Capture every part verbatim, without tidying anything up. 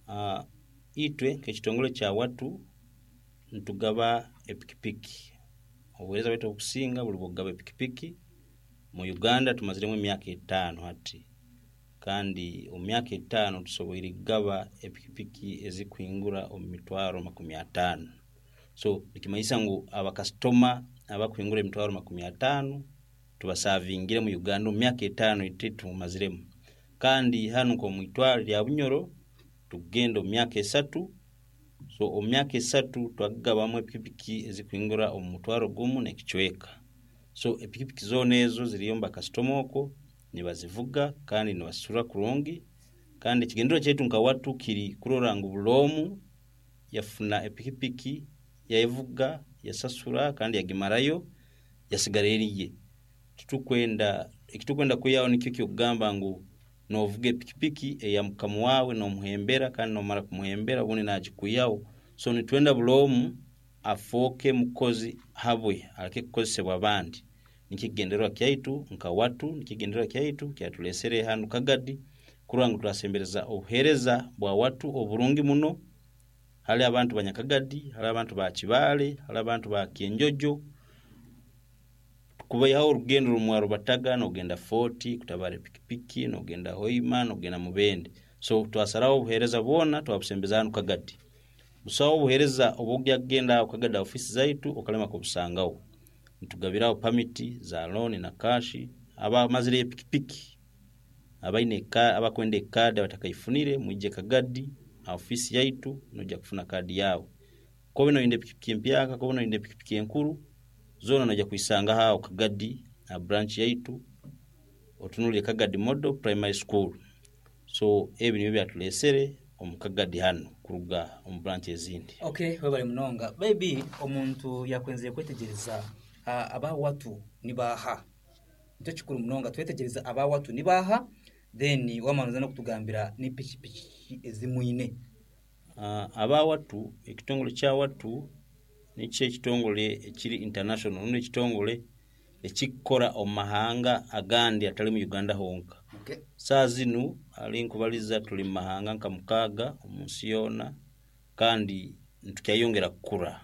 Uh, itwe nk'ekitongole kya Watu nitugaba epikipiki. Obuheereza bwaitu obukusinga buri bw'okugaba epikipiki. Mu Uganda tumaziremu emyaka etaano hati, kandi omu myaka etaano tusoboire kugaba epikipiki ezikuhingura omu mitwaro makumi ataano. So nikimanyisa ngu abakasitoma abakuhingura emitwaro makumi ataano tubasavingire mu Uganda omu myaka etaano itwe tumaziremu. Kandi hanu nk'omu itwaro rya Bunyoro tukugenda omu myaka esatu. So omu myaka esatu twagabamu epikipiki ezikuhingura omu mutwaro gumu n'ekicweka. So epikipiki zoona ezo ziriyo omu bakasitoma okwo nibazivuga kandi nibasasura kurungi. Kandi ekigendererwa kyaitu nka Watu kiri kurora ngu buli omu yafuna epikipiki, yaevuga, yasasura kandi yagimarayo, yasigara eriye. Titukwenda, ekitukwenda kwihaho nikyo kyokugamba ngu novuga epikipiki eya mukama waawe nomuhembera, kandi nomara kumuhembera obundi nagikwihaho. So nitwenda buli omu afooke mukozi habwe, aleke kukozesebwa abandi. Nikyo ekigendererwa kyaitu nka Watu, nikyo ekigendererwa kyaitu kyatulesere hanu Kagadi kurora ngu twasembereza obuheereza bwa Watu oburungi muno hali abantu ba Nyakagadi, hali abantu ba Kibaale, hali abantu ba Kyenjojo, kubaihaho orugendo rumwarubataga nogenda Fort kutabara epikipiki, nogenda Hoima, nogenda Mubende. So twasaraho obuheereza bwona twabusembeza hanu Kagadi. Busaho obuheereza obw'ogya kugenda aho Kagadi ofisi zaitu okalema kubusangaho. Nitugabiraho pamiti za loan na kashi abamazire epikipiki, abaine abakwenda ekaadi abatakaifunire, mwije Kagadi ofisi yaitu noija kufuna kaadi yawe. Kobe noyenda epikipiki empyaka, kobe noyenda epikipiki enkuru, zoona noija kwisangaho aho Kagadi aha branch yaitu, otunulire Kagadi Model Primary School. So ebi nibyo byatulesere omu Kagadi hanu kuruga omu branch ezindi. Okay, webale munonga. Maybe omuntu yakwenzire kwetegereza uh, aba Watu nibaha. Nikyo kikuru munonga twetegereza aba Watu nibaha, then wamanuza n'okutugambira ni pikipiki ezimwine. Uh, aba Watu, ekitongole kya Watu nikyo ekitongole ekiri international, rundi ekitongole ekikukora omu mahanga agandi atali mu Uganda honka. Okay. Saa zinu ali nkubaliza tuli mu mahanga nka mukaaga omu nsi yoona, kandi nitukyayongera kukura.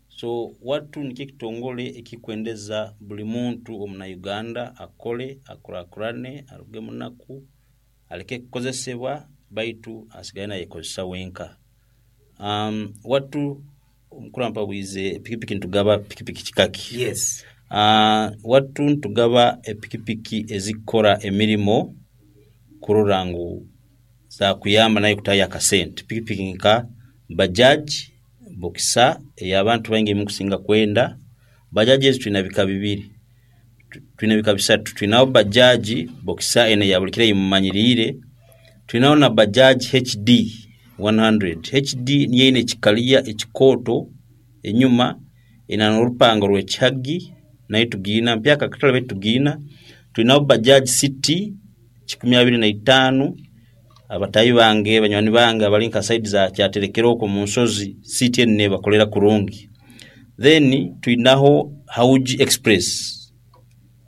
So Watu nikyo ekitongole ekikwendeza buli muntu omuna Uganda akole, akurakurane, aruge munaku, aleke kukozesebwa baitu asigale nayekozesa wenka. Um, Watu omukuru ampabwize epikipiki nitugaba pikipiki kikaki. Yes. Uh, Watu nitugaba epikipiki ezikukora emirimo kurora ngu zakuyamba naye kutayo akasente. Pikipiki nka Bajaj Boxer ey'abantu baingi mukusinga kwenda. Bajaj ezi twina bika bibiri, twina bika bisatu. Twinaho Bajaj Boxer eno eya buli kiro eyimumanyiriire, twinaho na Bajaj H D one hundred. H D niyo eine ekikaliya ekikooto enyuma, ena n'orupango rw'ekihagi, nayo tugiina mpyaka katale baitu tugiina. Twinaho Bajaj City kikumi abiri na itaano. Abatayi bange, banywani bange abali nka side za Kyaterekero okwo mu nsozi, City eno nebakolera kurungi. Then twinaho Hauji Express,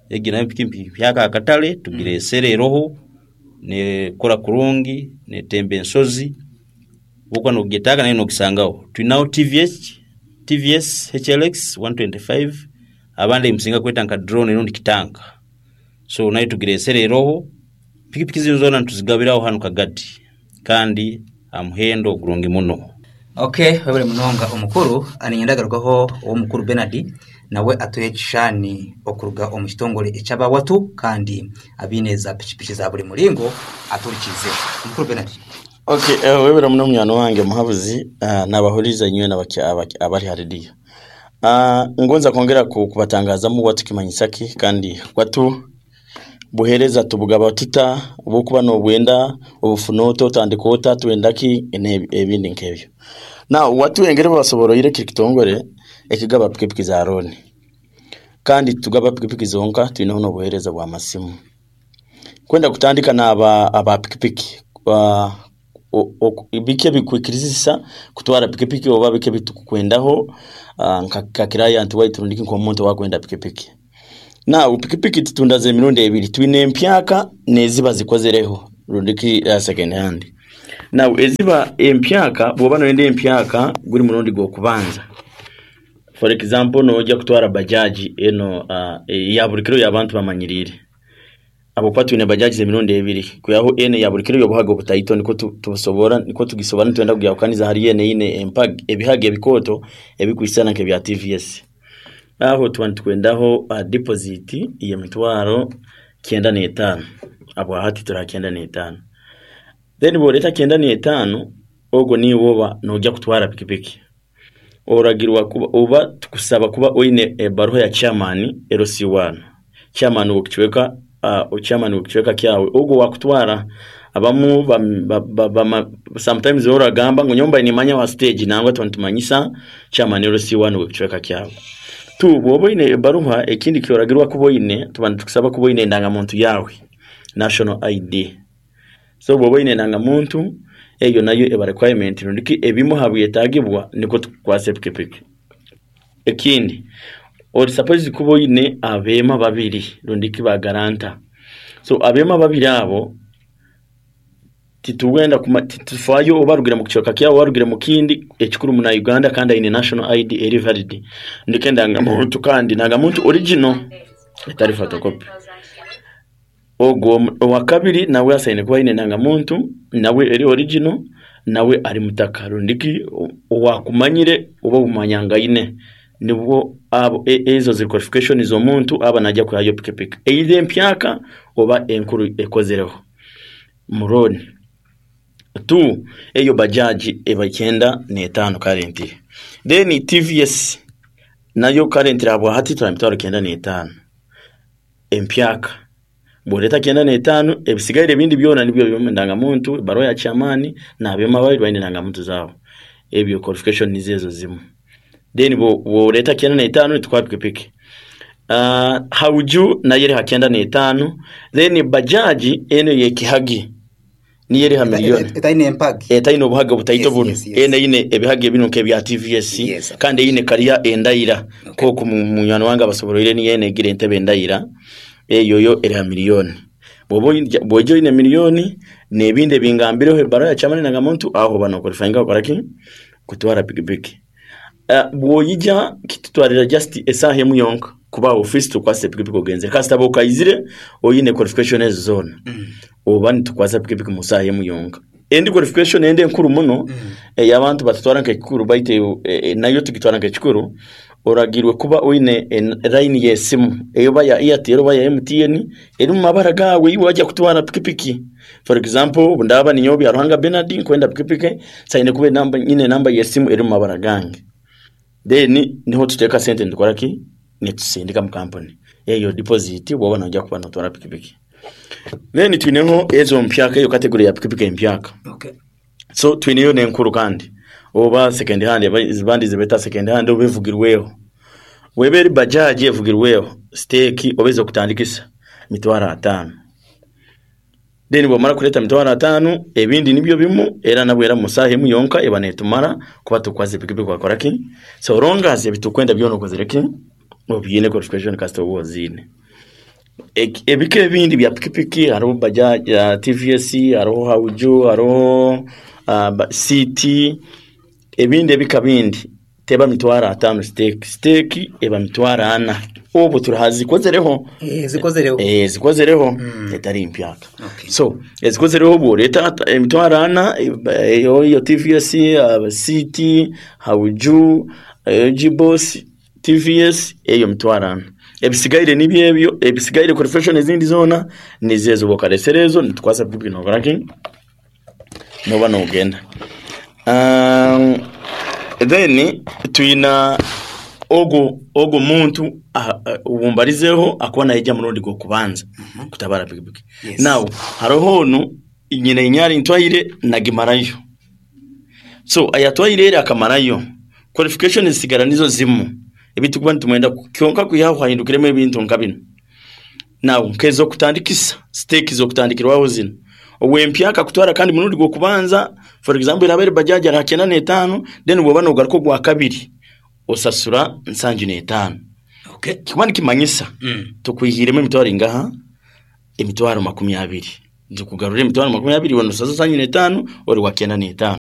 egi nayo pikipiki mpyaka akatale tugiresere eroho, nekora kurungi, netemba ensozi, bwokuba nogyetaaga nayo nogisangaho. Twinaho T V S, T V S H L X one twenty-five, abandi musinga kweta nka drone rundi kitanka. So nayo tugiresere eroho. Pikipiki zino zoona nituzigabiraho hanu Kagadi kandi amuhendo ogurungi muno. Okay, webale munonga omukuru. Aninyenda agarukaho omukuru Bernard nawe atuhe ekishushani okuruga omu kitongole eky'abawatu kandi abiine za pikipiki za buri muringo aturikize. Omukuru Bernard. Okay, uh, webale muno munywani wange muhabuzi, uh, nabahuriza inywe abari ha rediyo. Uh, ngonza kwongera kubatangazamu Watu kimanyisaki kandi Watu buhereza tubugaba tuta obukuba nobwenda obufunoto otandika ota twenda ki ebindi nkebyo. Na Watu engere basoboroire kiri kitongole ekigaba pikipiki za loan, kandi tugaba pikipiki zonka twine n'obuhereza bwa masimu. Kwenda kutandika n'aba aba pikipiki uh, bike bikwikirizisa kutwara pikipiki oba bike bitukwendaho uh, nka client waitu rundiki nk'omuntu wakwenda pikipiki. Na pikipiki tutundaze emirundi ebiri, twine empyaka neziba zikozereho rundiki uh, second hand. Now eziba empyaka, bw'oba noyenda empyaka guri murundi gw'okubanza, for example nojya kutwara bajaji eno uh, ya buri kiro y'abantu bamanyiriire, ahabwokuba twine bajaji z'emirundi ebiri, kwihaho eno ya buri kiro y'obuhaga obutaito, niko tu- tubusobora niko tugisobora nitwenda kugyahukaniza hariyo eno eine empag ebihaga ebikooto ebikwisana nk'ebya T V S. Aho tuba nitwendaho uh, deposit y'emitwaro kyenda n'etaano. Abwa hati turi aha kyenda n'etaano. Then bw'oreeta kyenda n'etaano, ogwo niiwe oba nojya kutwara pikipiki, oragirwa kuba oba tukusaba kuba oine ebaruha ya chairman L C one, chairman w'ekicweka, uh, chairman w'ekicweka kyawe ogwo wakutwara. Abamu ba, ba, ba, ba, sometimes oragamba ngu nyomba nimanya wa stage, nangwa tuba nitumanyisa chairman L C one w'ekicweka kyawe tu. Bw'oba oine ebaruha, ekindi kyoragirwa kuba oine, tuba nitukusaba kuba oine endangamuntu yawe, national I D. So bw'oba oine endangamuntu, eyo nayo eba requirement rundiki ebimu ha byetagibwa niko tukukwasa epikipiki. Ekindi, ori supposed kuba oine abeema babiri rundiki ba guarantor. So abeema babiri abo titugenda kuma titufayo oba arugire mu kicweka kyawe oba arugire mu kindi, ekikuru muna Uganda kandi aine national I D eri valid, ndiko endangamuntu, kandi ndangamuntu original etari photocopy. Ogwo owa kabiri nawe asaine kuba aine endangamuntu nawe eri original, nawe ari mutaka rundiki owakumanyire oba obumanyangaine. Nibwo abo e- ezo ziri qualification z'omuntu aba najya kuhayo pikipiki, either empyaka oba enkuru ekozereho muroni tu. Eyo bajaji eba kyenda n'etaano currently. Then T V S nayo currently habwa hati turi mitwaro kyenda n'etaano empyaka. Bw'oreeta kyenda n'etaano, ebisigaire ebindi byona nibyo birimu endangamuntu, ebaruha ya chairman n'abeema babiri baine endangamuntu zaabo, ebyo qualification nizo ezo zimu. Then bw'oreeta kyenda n'etaano nitukuha pikipiki. uh, hauju nayo eri ha kyenda n'etaano. Then bajaji eno yekihagi niyo eri ha miliyoni. Etaine empagi. Etaine obuhaga butaito. Yes, buno yes, yes. eno eine ebihaga ebino nk'ebya T V S Yes. kandi eine kariya endayira koku mu- munywani wange abasoboroire, niyo eno egira entebe endayira. Eyo yo eri ha miliyoni. Bw'oba oine- bw'oija oine miliyoni n'ebindi ebingambireho, ebaruha ya chairman, endangamuntu, aho oba noqualifyinga kukoraki? Kutwara pikipiki. Uh, bw'oyija kitutwarira just esaaha emu yonka kuba office tukwasa pikipiki ogenzere, kasita okaizire oyine qualification ezo zoona, oba nitukwasa pikipiki mu saaha emu yonka. Endi qualification endi enkuru muno ey'abantu batutwara nk'ekikuru, baitu e, e, nayo tugitwara nk'ekikuru, oragirwe kuba oine en- line y'esimu, eyoba ya Airtel oba ya M T N, eri mu mabara gawe iwe wajya kutwara pikipiki. For example, obu ndaba ninyowe Byaruhanga Bernard nkwenda pikipiki, saine kuba enamba nyine enamba y'esimu eri mu mabara gange. Then niho tuteeka sente nitukora ki? Nitusindika mu kampuni eyo deposit bwoba nojya kuba notwara pikipiki. Then twineho ezo mpyaka, eyo category ya pikipiki empyaka. Okay. So twineyo n'enkuru kandi oba second hand, aba- zibandi zibeta second hand oba evugirweho. Weba eri bajaji evugirweho, stake oba ez'okutandikisa mitwaro ataano. Then bwomara kuleta mitwaro ataano, ebindi nibyo bimu, era nabwo era mu saaha emu yonka eba netumara kuba tukwaza pikipiki wakora ki. So long as ebitukwenda byona okozere ki, obyine qualification, kasita oba oziine. Ek- ebika ebindi bya pikipiki, hariho bajaji uh, T V S, hariho hauju, hariho uh, ba- C T, ebindi ebika bindi teba mitwaro ataano stake. Stake eba mitwaro ana obu turahazikozereho. Eh, zikozereho. Eh, zikozereho, etari mpyaka. Okay. So ezikozereho, bw'oreeta emitwaro ana, eh, eyo iyo T V S, uh, C T, hauju, eh, gbos T V S, eyo mitwaro ana. Ebisigaire nibyo ebyo ebisigaire, qualification ezindi zoona nizezo. Bwokaresera ezo, nitukwasa pikipiki nokoraki? Noba nogenda. um, then twina ogo ogo muntu ah, ah, wumbarizeho akuba naija murundi gw'okubanza kutabara pikipiki. Yes. Now hariho onu nyina inyari ntwaire nagimarayo. So ayatwaire eri akamarayo, qualification zisigara nizo zimu ebitukuba nitumwenda kyonka kwihaho hahindukiremu ebintu nka bino. Now nk'ez'okutandikisa, stake z'okutandikirwaho zino, owempyaka kutwara kandi murundi gw'okubanza, for example eraba eri bajaji ari ha kyenda n'etaano, then bw'oba nogaruka ogwa kabiri osasura nsanju n'etaano. Okay. Kikuba nikimanyisa Mm. tukwihiremu emitwaro ingaha? Emitwaro makumi abiri. Nzikugarura emitwaro makumi abiri wanosaza sanyu n'etaano ori wa kyenda n'etaano.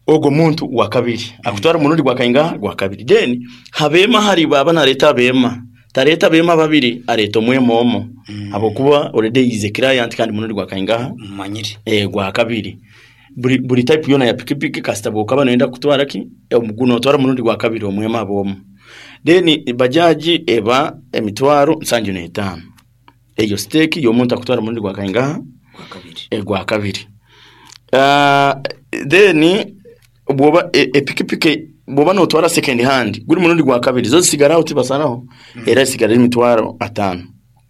Ogwo muntu wa kabiri akutwara murundi gwa kainga gwa kabiri. Then habema hari baba nareta abema tareta abema babiri, areta omwema omo mm. Abokuba already is a client kandi murundi gwa kainga mumanyire eh gwa kabiri. Buri buri type yona ya pikipiki kasita bwokaba noyenda kutwara ki omuguno otwara murundi gwa kabiri omwema abomo. Then bajaji eba emitwaro nsanju n'etaano. Eyo stake y'omuntu akutwara murundi gwa kainga gwa kabiri eh, gwa kabiri. Uh, then bwoba e- epikipiki bwoba notwara second hand guri murundi gwa kabiri zo zisigaraho tibasaraho mm. Era sigara emitwaro atano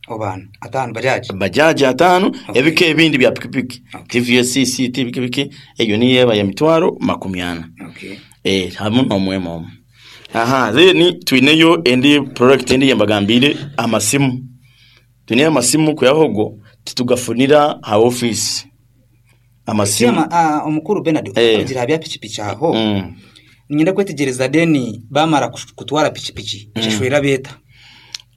obana atano bajaji bajaji atano. Okay. Ebika ebindi bya pikipiki Okay. T V S C T pikipiki eyo niyo eba ya mitwaro makumi ana. Okay. Eh hamwe n'omwema omwe. Aha, then twineyo endi product endi yembagambire amasimu. Twineyo amasimu kuyahogo titugafunira ha office amasimu. Siyama, ah, omukuru Bernard Eh. kugira bya pikipiki aho mm. ninyenda kwetegereza deni bamara kush- kutwara pikipiki nshashwera beta.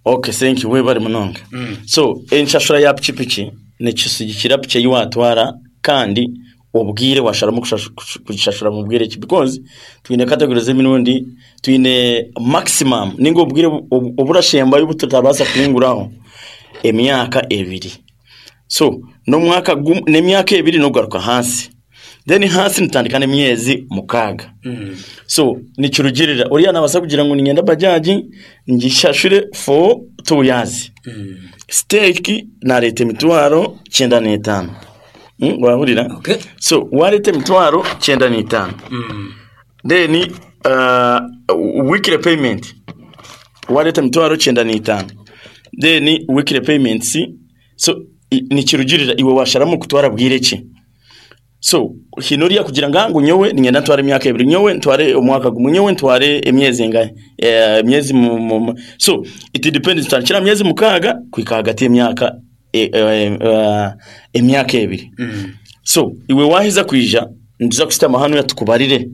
Okay, thank you, webare munonga. Mm. So enshashura ya pikipiki nekisigikira piki eyiwatwara kandi obwire washaramu kushashu- kush- kugishashura mu bwire ki, because twine categories z'emirundi, twine maximum ninga obwire obu- obu- oburashembayo obututabasa kuhinguraho emyaka ebiri. So n'omwaka gum- n'emyaka ebiri nogaruka hansi, then hansi nitandika n'emyezi mukaaga. Mm. So nikirugirira uriya nabasa kugira ngu ningenda bajaji ngishashure for two years. Mm. Stake nareta emitwaro kyenda n'etaano. Mm, wahurira? Okay. So wareta emitwaro kyenda n'etaano. Mm. Then uh, weekly payment wareta emitwaro kyenda n'etaano, then weekly payments. So i- nikirugirira iwe washaramu kutwara bwire ki. So hino oriya kugira nga ngu nyowe ningenda ntware emyaka ebiri, nyowe ntware omwaka gumwe, nyowe ntware emyezi engahe, eh, emyezi mu, mu, mu. So it depends, tutandikira myezi mukaaga kuhika hagati y'emyaka e, e, e, emyaka ebiri. Mm. So iwe wahiza kwija nituza kusitama hanu yatukubarire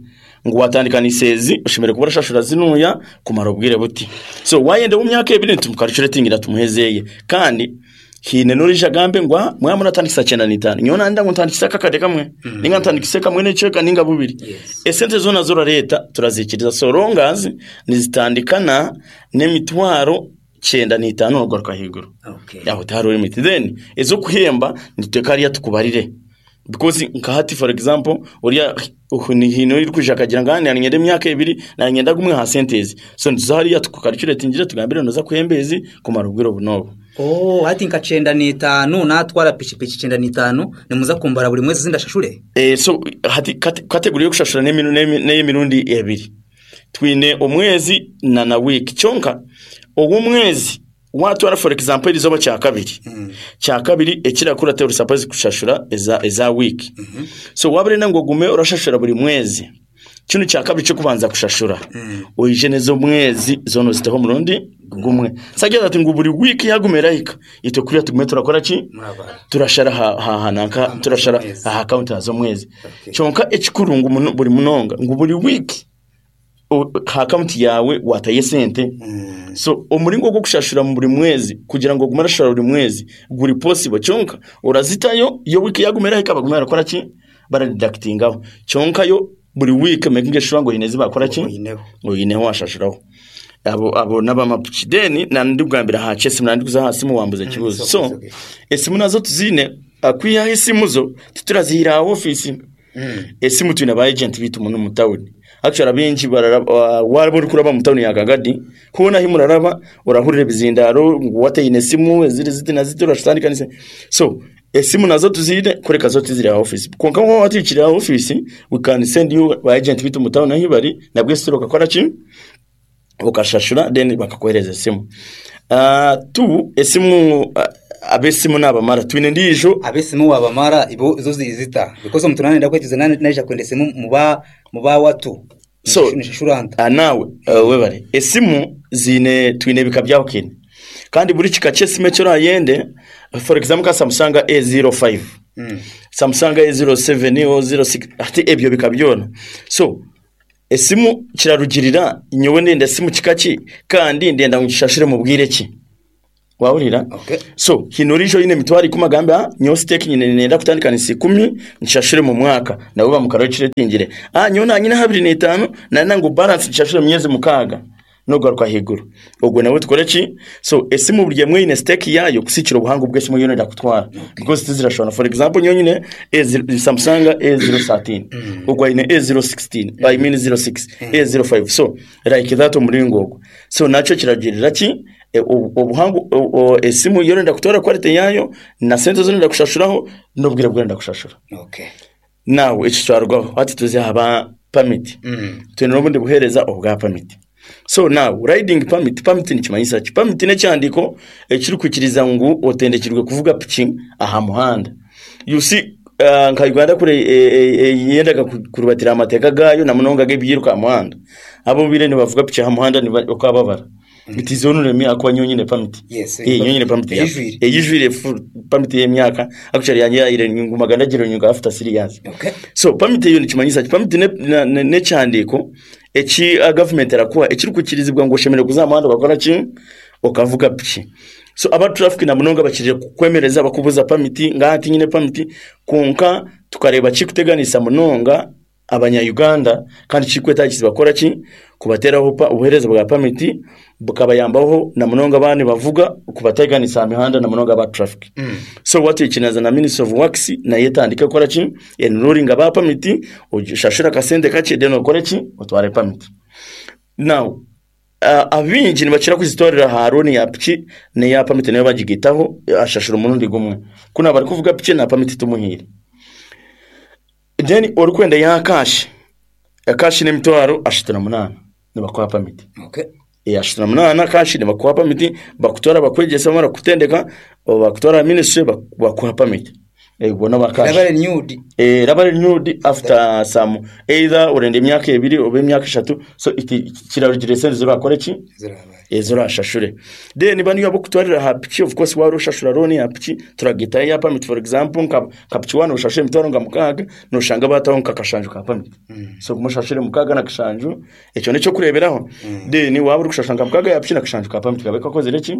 ngu watandika nisezi oshemere kuba orashashura zinuya kumara obwire buti. So wayenda mu myaka ebiri nitumukaricuratingira tumuhezeye. Kandi hine norija gambe ngwa mwa muratandikisa kyenda n'itaano, nyowe nanda ngu ntandikisa kakade kamwe Mm. ninga ntandikise kamwe n'ekicweka ninga bubiri. Yes. Esente zona zorareta turazikiriza so longazi nizitandikana n'emitwaro kyenda n'itaano nogaruka higuru. Okay. Aho tihariho limit. Then ez'okuhemba nituteka hariya tukubarire, because nka hati for example oriya hino ori kwija akagira ngu nanyenda emyaka ebiri nanyenda gumwe ha sente ezi, so nituza hariya tukukaricuratingire tugambire noza kuhemba ezi kumara obwire obu n'obu. Oh, ati nka kyenda n'etaano natwara pikipiki kyenda n'etaano nimuza kumbara buri mwezi zindashashure. Eh, so hati kate- kategori y'okushashura n'emiru- n'emi- n'ey'emirundi ebiri. Twine omwezi na na week. Kyonka ogw'omwezi watwara for example erizoba kya kabiri Mm. kya kabiri ekirakura ori supposed kushashura eza eza week. Mm -hmm. So wabarenda ngu ogume orashashura buri mwezi, kino kya kabiri kyo kubanza kushashura Mm. oije nez'omwezi zono ziteho omurundi gumwe. Sagira ati ngu buri week yagumera hika itwe kuriya tugume turakora ki Murabara. turashara ha ha hanaka Aha, turashara z'omwezi. aha account z'omwezi. Okay. Kyonka ekikuru ngu muno- buri munonga ngu buri week o- ha account yawe wataye sente. Mm. So omuringo gw'okushashura mu buri mwezi kugira ngo ogume orashashura buri mwezi guri possible, kyonka orazitayo yo week yagumera hika baguma barakora ki baradeductingaho. Kyonka yo buri week making sure ngo hine zibakora ki Oyineho. oyineho washashuraho. Abo abo n'abamapiki. Then nandi kugambira ha chesi nandi kuza hasi muwambuze kibuzo. it's So okay, it's okay. esimu nazo tuzine akwihaho esimu zo titurazihira ha office. Mm. Esimu twine ba agent bitu muno mu town. Actually abengi bararaba waba uri kuraba mu town ya Kagadi kubona aho muraraba urahurira ebizindaro ngu wateyine esimu eziri ziti na ziti urashitandika nise. So esimu nazo tuzine kureka zo tiziri ha office, konka nko watikiri ha office we can send you ba agent bitu mu town aho bari nabwe sitoro ukakora ki ukashashura then bakakohereza esimu. Uh, tu esimu uh, abesimu nabamara twine ndijo Abesimu wabamara ibo izo zizita because omuntu nane ndakwetiza nane naija kwenda esimu muba muba watu. So- nishashuranta. Ah, nawe uh, webare esimu zine twine ebika byahukine kandi buri kika ky'esimu ekyo orayende for example ka Samsung A zero five, Mm. Samsung A zero seven o zero six ati ebyo bika byona. So esimu kirarugirira nyowe ndenda esimu kika ki kandi ndenda ngu ngishashire mu bwire ki. Wahurira? Okay. So hino orijo yine emitwaro ikumi agambe, "Ah, nyowe stake nyine nenda kutandikanisa ikumi nshashure mu mwaka," nabo bamukarokiretingire. Ah, nyowe nanyine habiri n'etaano nana ngu balance nshashure mu myezi mukaaga nogaruka higuru, ogwo nawe tukore ki? So esimu buri emwe ine stake yayo kusikira obuhango bw'esimu yoona ndakutwara, because tizirashwana. For example, nyowe nyine A zero Samsung A zero thirteen, ogwo aine A zero sixteen, I mean zero six, A zero five, so like that, omuringo ogwo. So nakyo kiragirira ki? E, obu- obuhango o- o- esimu yoona ndakutwara, quality yayo na sente zona kushashuraho n'obwire bwenda kushashura. Okay. Nawe ekyo twarugaho, hati tuze haba permit. Mm. Twine n'obundi buheereza obwa permit. So now riding permit, permit nikimanyisa ki? Permit n'ekyandiko ekirikwikiriza ngu otendekirwe kuvuga piki aha muhanda. You see, uh, nka Uganda kure e, e, e, yendaga ku- kurubatira amateeka gayo na munonga g'ebyiruka aha muhanda, abo bire nibavuga piki aha muhanda okababara. It is only me akuba nyonyine permit. Yes, eh nyonyine permit ya eyijwire. Eyijwire, full permit y'emyaka. Actually yanjye yayire ngumaga ndagira nyunga after three years. Okay. So permit eyo nikimanyisa ki? Permit ne- na- ne- n'ekyandiiko eki a government erakuha ekirikukirizibwa ngu oshemereire kuza aha muhanda okakora ki? Okavuga piki. So aba traffic na munonga bakirire kukwemereza bakubuza permit, nga tinyine permit. Konka tukareba kikuteganisa munonga abanya-Uganda kandi kikwetagisa bakora ki? Kubateraho pa- obuheereza bwa permit bukabayambaho na munonga abandi bavuga kubateganisa aha mihanda na munonga aba traffic. Mm. So watu ekinaza na Ministry of Works naye etandike kukora ki? Enrolling aba permit, oshashura akasente kakye, then okore ki? Otware permit. Now uh, abingi nibakira kuzitwarira aha loan ya piki neya permit, nayo bagigitaho, ashashura umurundi gumwe kuna bari kuvuga piki na permit tumuhire. Then orikwenda ya cash, cash n'emitwaro ashatu na munaana nibakuha permit. Okay. Eh, ashatu na munaana cash nibakuha permit, bakutwara bakwegyesa, bamara kutendeka bakutwara ministry bak- bakuha permit. Eh, ubwo ba cash. Raba renewed. Eh, raba renewed after some, either urenda emyaka ebiri oba emyaka eshatu. So iti kirarugire esente zirakora ki? Zirabaye. Ezo urashashure. Then baniyo abokutwarira aha piki, of course wari ushashura loan ya piki, turagitayo ya permit. For example, nka nka piki wano ushashure emitwaro nga mukaaga, noshanga bataho nka kashanju ka permit. So kumushashure mukaaga na kashanju, ekyo nikyo kureberaho. Then waba uri kushashura nka mukaaga ya piki na kashanju ka permit kabe kakozire ki?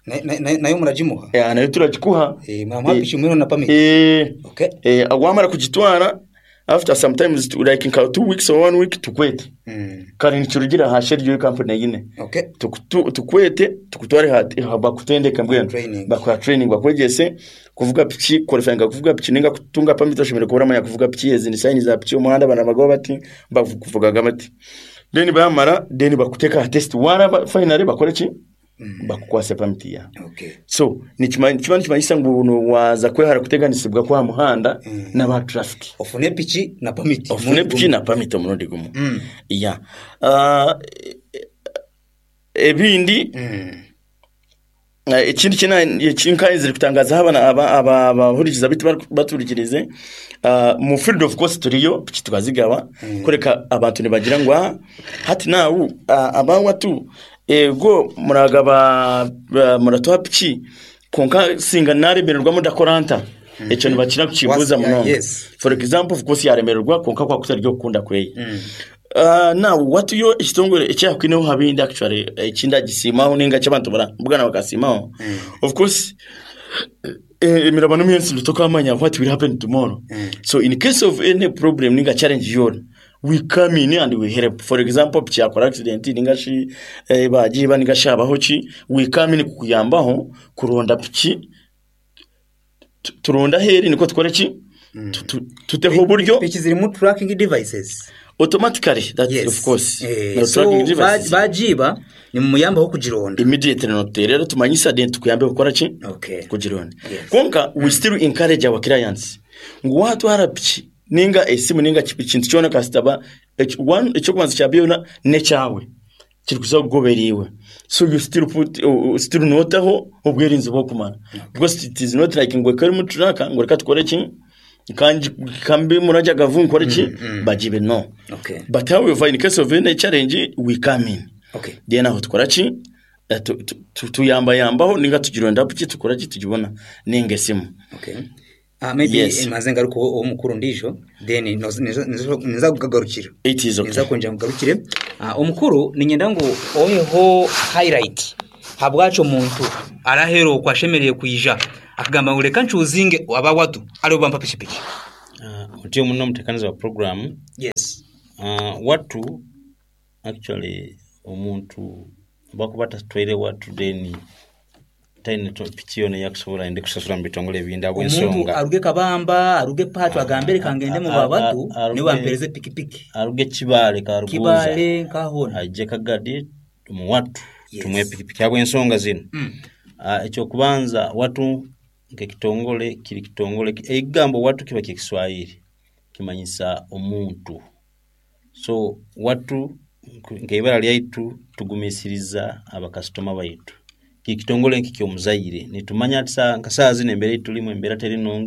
Na- na- na- nayo muragimuha? Eh, nayo turagikuha. Eh, muramuha piki mwino na permit. Eh. Okay. Eh, wamara kugitwara, after sometimes like nka two weeks or one week, tukwete. Mm. Kare nikirugira aha schedule company yine. Okay. Tukutu- tukwete tukutware ha- bakutendeke mbwenu. Training. Bakuha training, bakwegyese kuvuga piki, qualifying kuvuga piki ninga kutunga permit. Oshemere kuba oramanya kuvuga piki, ezi ni sign za piki, omuhanda banabagaho bati, bakuvugaga bati. Then bamara, then bakuteka aha test, waraba finally bakore ki? Bakukwase permit yawe. Okay. So nikima kiba nikimanyisa ngu no waza kwehara kuteganisibwa kwa muhanda Mm. n'aba traffic. Ofune piki na permit. Ofune piki na permit omurundi gumu. Mm. Ya, uh, ebindi Mm. Eh, ekindi kina ekinkanzire kutangaza abana aba aba- abahurikiza bitu bari- baturikirize uh, mu field, of course turiyo piki tukazigaba. Kureka abantu nibagira ngu, "Ah, hati nawu uh, abawatu ego muragaba uh, muratuha piki, konka singa naremererwa mudakora nta?" Ekyo nibakira kukibuuza Was- yeah, munonga. yes. For example, of course yaremererwa, konka kwakuta ryo kukunda kweye. Mm. Uh, now watuyo ekitongole ekyakwineho habindi, actually ekindi agisiimaho ninga ky'abantu barabugana bakasiimaho. Of course eh, emirabano myinshi tukamanya what will happen tomorrow. Mm. So in case of any problem ninga challenge yona, we come in and we help. For example, kyakora accident ninga shi eh, bagiba ninga shabaho ki, we come in kukuyambaho kuronda piki. Tu- turonda heri niko tukore ki? Tu- tu- tuteho uburyo. Piki zirimu tracking devices. Automatically, that Yes. of course. Eh, No so tracking devices. ba- bagiba nimumuyambaho kugironda. Immediately noterera tumanyisa, then tukuyambe gukora ki? Okay. Kugironda. Yes. Konka we still encourage our clients ngu watwara piki ninga esimu ninga ki- ekintu kyona, kasitaba ekyokubanza kya byona nekyawe kiri kuza kugobera. So you still put uh, still notaho obwerinzi bwokumara, because it is not like ngo kari mu truck ngo reka tukore ki kanji kambi muraja gavu nkore ki bagibe, no. Okay. But however, in case of any challenge, we come in. Okay. Then aho tukora ki? Eh, tu- tu- tu- tuyambayambaho ninga tugironda piki, tukora ki? Tugibona ninga esimu. Okay. Ah, maybe Yes. maze ngaruka uwo mukuru ndijo, then nizo- nizo- nizo- niza kugagarukira. It is okay. Niza kongera ngarukire. Ah, omukuru ninyenda ngu oheho highlight. Habwaki omuntu arahera okwo ashemereire kwija akagamba ngu reka ncuuzinge aba watu aribo bampa pikipiki? Uh, otyo muno omutekaniza wa program. Yes. uh, watu actually omuntu bakuba tatwaire watu, then taine to- piki yona eyakusobola ende kusasula mu bitongole ebindi Omuntu habw'ensonga aruge Kabamba, aruge Pacho, agambe reka ngende mu A- a- babatu a- aruge- niwe bampereze pikipiki. Aruge Kibaale, Karuguza, Kibaale nkahona. aije Kagadi mu watu, Yes. tumuhe pikipiki habw'ensonga zino. Mm. Uh, ekyokubanza, watu nk'ekitongole kiri kitongole, ekigambo watu kiba kyekiswahili kimanyisa omuntu. So watu nk'ibara lyaitu tugumisiriza abakasitoma baitu. Kiri kitongole nk'ekyomuzaire, nitumanya ati nka saaha zino embeera eitulimu, embeera teri nungi.